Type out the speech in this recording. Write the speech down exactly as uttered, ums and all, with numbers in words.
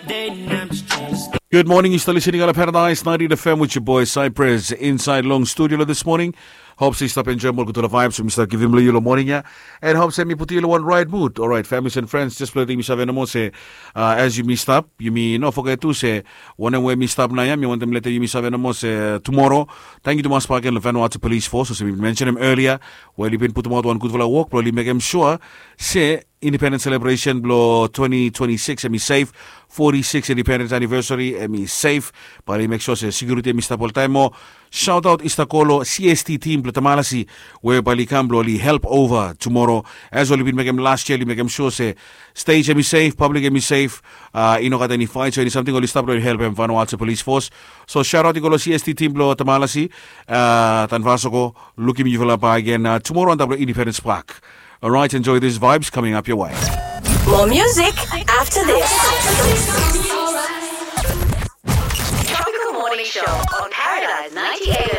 Good morning, yu stap listening on Paradise ninety F M with your boy Cypress inside long studio this morning. Hope se yu stap enjoy ol gutpela vibes we mi stap givim long yu long morning ya. And hope se mi putum yu long wan right mood. Alright, families and friends, just blong letim yu save nomo se, uh, as yumi stap, yumi no foget tu se wanem we mi stap nao ya, mi wantem letim yumi save nomo se tumoro. Tangkiu tumas bakegen long Vanuatu Police Force, olsem mi bin mentionem earlier, we oli bin putumaot wan gudfala wok blong oli mekem sua se Independence Celebration blong twenty twenty-six hemi safe, forty-six Independence Anniversary hemi safe. Bae oli mek sua se security hemi stap oltaem moa. Shout out i stap go long C S T team blong Tamalasi, we bae oli kam blong oli help over tumoro. As oli bin mekem last year, oli mekem sua se stage hemi safe, public hemi safe, uh, i no gat eni fight, so eni samting oli stap blong oli helpem Vanuatu Police Force. So shout out i go long C S T team blong Tamalasi, uh, Tanvasoko, lukim yufala bakegen, uh, tumoro antap long Independence Park. Alright, enjoy these vibes coming up your way. More music after this. Tropical Morning Show on Paradise ninety A